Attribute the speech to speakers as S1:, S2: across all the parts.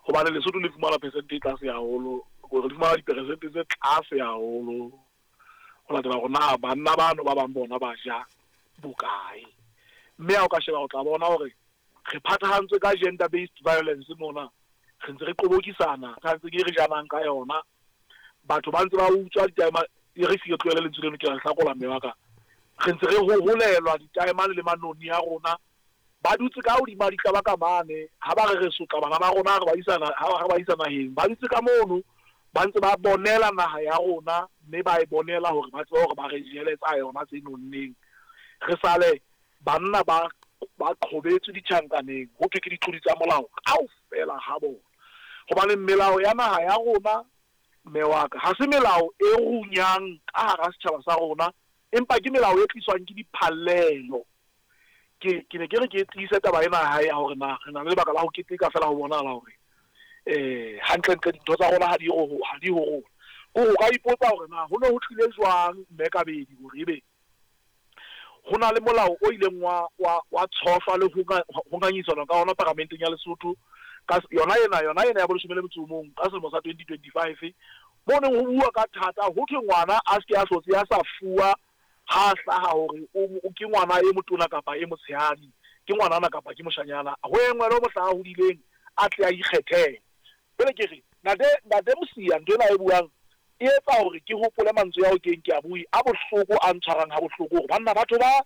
S1: Hobane Lesotho le fumana percent e tlase haholo, re fumana diperesente tse tlase haholo ho latela hore na banna bano ba bang bona ba ja bokae. Mme ha o ka sheba o tla bona hore re phathahantswe ka gender based violence mona, re ntse re qobokisana ka ntse ke re janang ka yona. Batho ba ntse ba utswa ditaema, e re se ke tlohele lentswe leno ke la hlakola mme wa ka. Re ntse re hoholelwa ditaemane le manoni a rona. Ba dutse ka hodima ditlaba ka mane, ha ba re re sotla bana ba rona, re ba isa ha re ba isa naheng, ba dutse ka mono, ba ntse ba bonela naha ya rona, mme ba e bonela hore ba tsebe hore ba re jele tsa yona tse nonneng. Re sale banna ba ba qhobetswe ditjhankaneng, ho thwe ke ditlodi tsa molao kaofela ha bona. Hobane melao ya naha ya rona, mme wa ka, ha se melao e runyang ka hara setjhaba sa rona, empa ke melao e tliswang ke diphallelo. Ke ke ne ke re ke tiise taba ena ya hae ya hore na re na le lebaka la ho keteka feela ho bonahala hore hantlentle dintho tsa rona ha di ho ha di ho rona. Ke hore o ka ipotsa hore na ho ne ho tlile jwang mme Kabedi hore ebe ho na le molao o ileng wa wa wa tshohlwa le ho ho ngangisanwa ka ona paramenteng ya Lesotho ka yona ena yona ena ya boleshome le metso o mong ka selemo sa 2025 mo neng ho bua ka thata ho thwe ngwana a se ke a hlotse a sa fuwa ha a hlaha hore o ke ngwana e motona kapa e motshehadi, ke ngwanana kapa ke moshanyana, ho engwelwe mohla a hodileng a tle a ikgethele. Jwale ke re, Ntate, Ntate Mosia, ntho ena a e buang e etsa hore ke hopole mantswe ao ke yeng ke a bue, a bohloko, a ntshwarang ha bohloko, hore banna batho ba,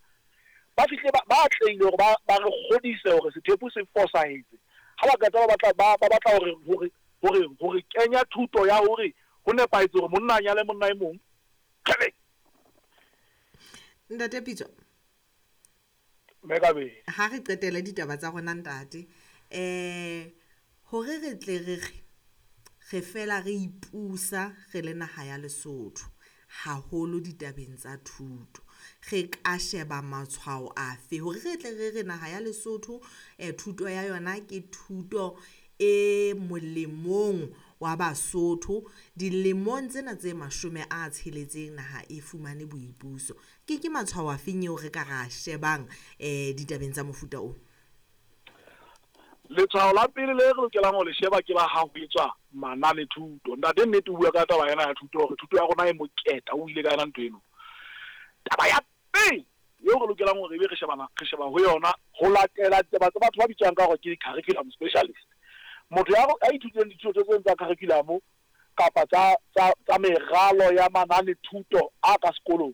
S1: ba fihlile ba, ba atlehile hore ba, ba re kgodise hore sethepu se fosahetse. Ha ba qeta ba batla, ba, ba batla hore, hore, hore, hore kenya thuto ya hore ho nepahetse hore monna a nyale monna e mong. Kgele!
S2: Ntate Pitso.
S1: Mme Kabedi.
S2: Ha re qetele ditaba tsa rona ntate. Eh hore re tle re re re fela re ipusa re le naha ya Lesotho haholo ditabeng tsa thuto. Re ka sheba matshwao afe hore re tle re re naha ya Lesotho thuto ya yona ke thuto e molemong wa Basotho dilemong tsena tse 60 naha e fumane boipuso. Ke ke matshwao afeng eo re ka ra shebang ditabeng tsa mofuta o?
S1: Letshwao la pele le re lokelang ho le sheba ke la ha ho etswa manane thuto. Ntate nnete o bua ka taba ena ya thuto hore thuto ya rona e moketa, o buile ka yona ntho eno. Taba ya pele eo re lokelang hore ebe re shebana re sheba ho yona ho latela ditaba tsa batho ba bitswang ka hore ke curriculum specialist. Motho ya ya ithutileng dithuto tse tsa curriculum kapa tsa tsa tsa meralo ya manane thuto a ka sekolong,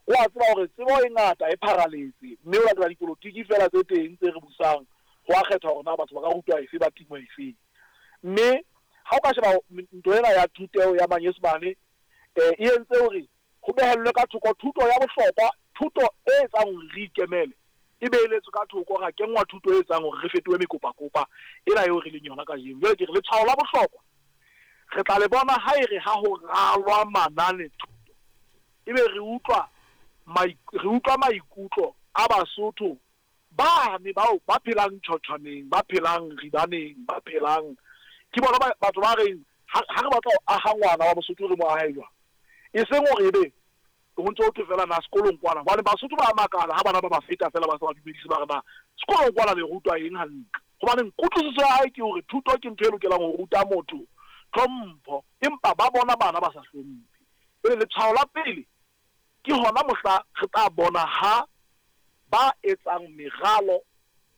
S1: o a tseba hore tsebo e ngata e pharaletse mme o latela dipolotiki feela tse teng tse re busang ho a kgetha hore na batho ba ka rutwa efe ba tingwa efe. Mme ha o ka sheba ntho ena ya thuteho ya Manyesemane e entse hore ho behellwe ka thoko thuto ya bohlokwa, thuto e etsang hore re ikemele e beheletswe ka thoko, ra kenngwa thuto e etsang hore re fetohe mekopakopa ena eo re leng yona kajeno. Jwale ke re letshwao la bohlokwa re tla le bona ha e re ha ho ralwa manane thuto ebe re utlwa re utlwa maikutlo a Basotho bane bao ba phelang tjhotjhwaneng, ba phelang ribaneng, ba phelang ke bona batho ba reng ha re batla ho aha ngwana wa Mosotho re mo ahe jwang. E seng hore ebe ho ntse ho thwe feela na sekolong kwana, hobane Basotho ba makala ha bana ba ba feta feela ba sa ba dumedise, ba re na sekolong kwana le rutwa eng hantle. Hobane kutlwisiso ya hae ke hore thuto ke ntho e lokelang ho ruta motho tlhompho, empa ba bona bana ba sa hlomphe. Jwale letshwao la pele ke hona mohla re tla bona ha ba etsang meralo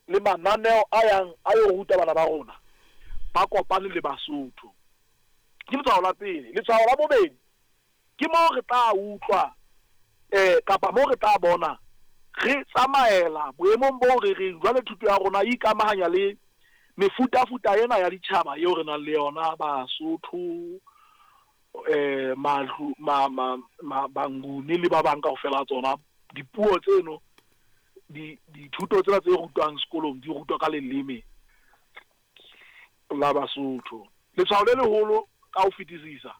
S1: le mananeo a yang a yo ruta bana ba rona ba kopane le Basotho. Ke letshwao la pele. Letshwao la bobedi ke moo re tla utlwa kapa moo re tla bona re tsamaela boemong boo re reng jwale thuto ya rona e ikamahanya le mefutafuta ena ya ditjhaba eo re nang le yona, Basotho, Madlu, ma, ma, ma, Banguni le ba bang kaofela tsona. Dipuo tseno, di, dithuto tsena tse rutwang sekolong di rutwa ka leleme la Basotho. Letshwao le leholo ka ho fetisisa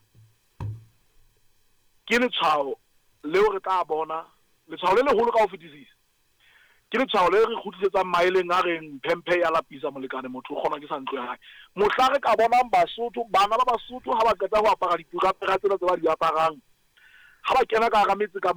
S1: ke letshwao leo re tla bona, letshwao le leholo ka ho fetisisa ke letshwao le re kgutlisetsang maeleng a reng phemphe ya lapisa molekane, motho o kgonwa ke sa ntlo ya hae. Mohla re ka bonang Basotho, bana ba Basotho ha ba qeta ho apara dipurapera tsena tse ba di aparang, ha ba kena ka hara metse ka